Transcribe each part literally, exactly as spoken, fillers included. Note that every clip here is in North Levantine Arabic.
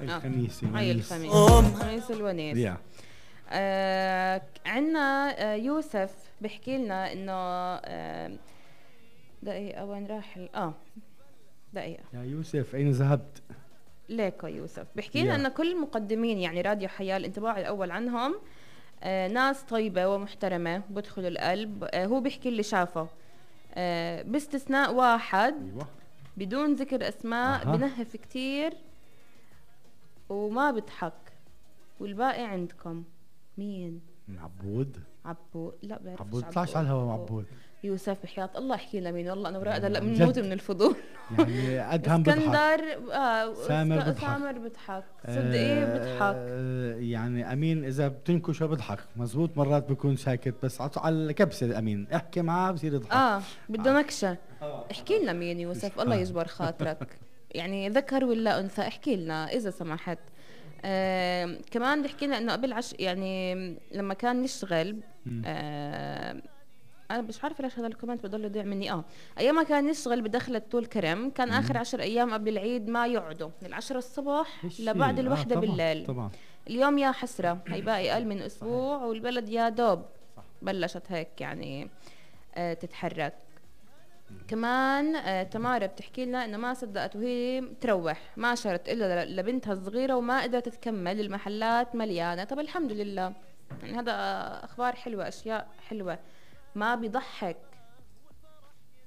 الخميس هاي الخميس خميس الونيس. yeah. آه عنا آه يوسف بحكي لنا انه آه دقيقة وين راح اه دقيقة يا يوسف أين ذهبت؟ ليكو يوسف بحكي لنا yeah. أن كل المقدمين يعني راديو حياة الانطباع الأول عنهم آه ناس طيبة ومحترمة بدخلوا القلب. آه هو بيحكي اللي شافه آه باستثناء واحد أيوة. بدون ذكر أسماء أه. بنهف كتير وما بضحك والباقي عندكم. مين؟ عبود. عبود لا بعرفش. عبود طلعش على الهوا عبود. يوسف بحياة الله احكي لنا مين. والله انا وراء هلا بنموت من الفضول. يعني ادهم بضحك. اسكندر اه سامر بضحك. سامر بضحك. صدقي بضحك. آه يعني امين اذا بتنكشه بضحك مزبوط. مرات بيكون ساكت بس على الكبسه. امين احكي معاه بصير يضحك. اه بده نكشه. احكي لنا مين يوسف الله يجبر خاطرك. يعني ذكر ولا انثى احكي لنا اذا سمحت. آه كمان بحكي لنا انه قبل عش يعني لما كان نشتغل آه انا مش عارفه ليش هذا الكومنت بضل يضيع مني. اه ايام ما كان يشتغل بدخلة طول كرم كان اخر عشر ايام قبل العيد ما يقعدوا من العشرة الصبح لبعد الوحدة آه طبعًا بالليل طبعا. اليوم يا حسرة هي باقي اقل من اسبوع والبلد يا دوب بلشت هيك يعني آه تتحرك. كمان آه تمارا بتحكي لنا انه ما صدقت وهي تروح ما شرت الا لبنتها الصغيره وما قدرت تكمل المحلات مليانه. طب الحمد لله يعني هذا اخبار حلوه اشياء حلوه. ما بيضحك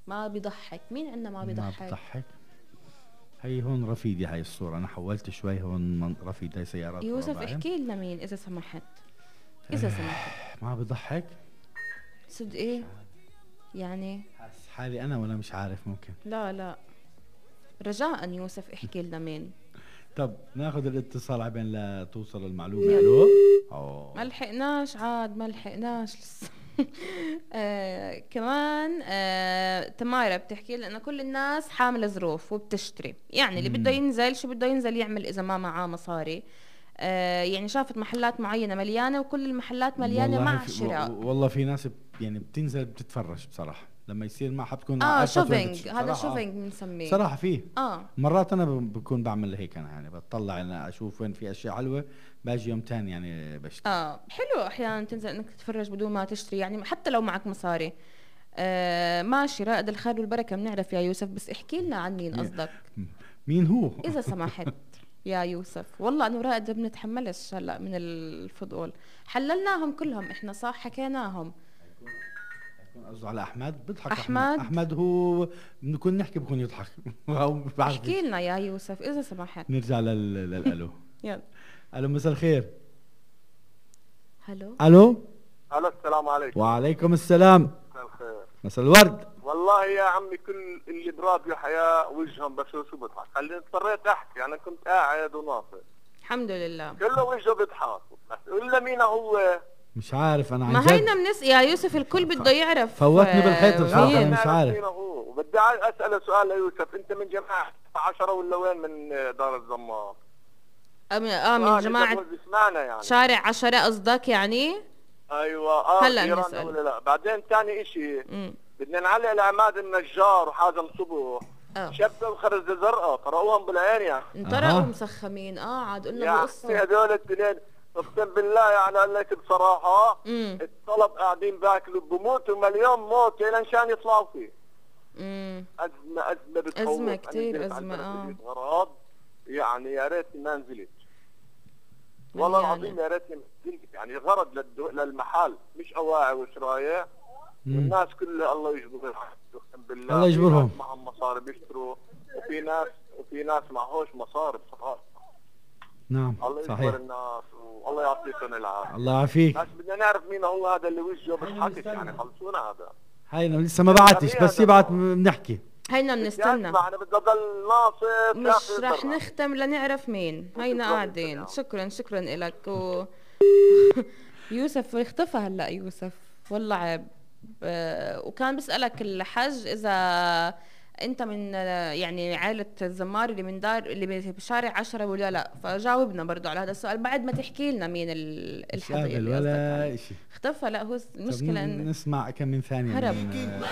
ما بيضحك. مين عندنا ما بيضحك؟ ما بيضحك. هي هون رفيدي هاي الصوره انا حولت شوي هون رفيد هاي سيارات. يوسف احكي لنا مين اذا سمحت اذا سمحت. ما بيضحك صدق ايه يعني حاسس حالي انا ولا مش عارف. ممكن لا لا رجاء يوسف احكي لنا مين. طب ناخذ الاتصال عبين لا توصل المعلومه. الو ما لحقناش عاد ما لحقناش لسه. آه كمان آه تمارا بتحكي لنا كل الناس حامله ظروف وبتشتري يعني اللي بده ينزل شو بده ينزل يعمل اذا ما معاه مصاري. آه يعني شافت محلات معينه مليانه وكل المحلات مليانه مع شراء. والله في ناس يعني بتنزل بتتفرج بصراحه لما يصير معها بتكون اه شوبينج. هذا شوبينج بنسميه صراحه. فيه اه مرات انا بكون بعمل هيك انا يعني بطلع انا اشوف وين في اشياء حلوه باجي يوم تاني يعني بشتري. اه حلو احيانا تنزل انك تتفرج بدون ما تشتري يعني حتى لو معك مصاري. آه ماشي رائد الخير والبركه بنعرف يا يوسف بس احكي لنا عن مين قصدك. مين هو اذا سمحت يا يوسف. والله انا ورائد ما بنتحملش هلا من الفضول. حللناهم كلهم احنا صح حكيناهم. قصده على احمد بيضحك. احمد احمد هو بنكون نحكي بكون يضحك. احكي لنا يا يوسف اذا سمحت. نرجع للالو. يلا الو مساء الخير. الو الو الو السلام عليكم. وعليكم السلام. مساء الخير. مساء الورد. والله يا عمي كل اللي براديو حياة وجههم بس شو بضحك. خليني اضطريت احكي انا كنت قاعد وناصر. الحمد لله كله وجهه بيضحك. الا مين هو مش عارف انا عن ما هينا منس يا يوسف الكل بده يعرف. فوتني بالحيط بصراحه انا مش عارف. وبدي اسال سؤال ليوسف انت من جماعه عشرة ولا وين من دار الزمار؟ اه من جماعه يعني. شارع عشرة قصدك يعني؟ ايوه اه هلا نسال ولا لا. بعدين ثاني اشي بدنا نعلق لعماد النجار وحازم صبح شبه وخرزه زرقاء قرأوهم بالعين يعني انطرقوا مسخمين. اه عاد قلنا بقصه يعني هذول الاثنين اقسم بالله يعني قال لك بصراحه مم. الطلب قاعدين باكلوا بموتوا مليون موت لنشان يطلعوا فيه. امم ازمه ازمه بتخوف. ازمه كثير ازمه. اه غراض يعني يا ريتني ما نزلت والله العظيم يا ريتني ما نزلت يعني غرض للدو... للمحل مش اواعي وشرايع والناس كلها الله يجبرهم اقسم بالله. الله يجبرهم. معهم مصاري بيشتروا وفي ناس وفي ناس معهوش مصاري بصراحه. نعم الله يجبر الناس والله يعطيكم العافيه. الله يعافيك. بس بدنا نعرف مين هو هذا اللي وجهه بيضحك يعني خلصونا هذا. هينا لسه ما بعتش بس يبعت بنحكي. هينا بنستنى. انا بدي اضل ناصف مش رح نختم لنعرف مين. هينا قاعدين. شكرا شكرا لك و... يوسف اختفى هلا يوسف والله عيب. وكان بسألك الحج اذا انت من يعني عائلة الزمار اللي من دار اللي بشارع عشرة ولا لا. فجاوبنا برضو على هذا السؤال بعد ما تحكي لنا مين الحظيرة اللي ولا شيء. اختفى. لا هو المشكلة ان نسمع كم من ثانية هرب.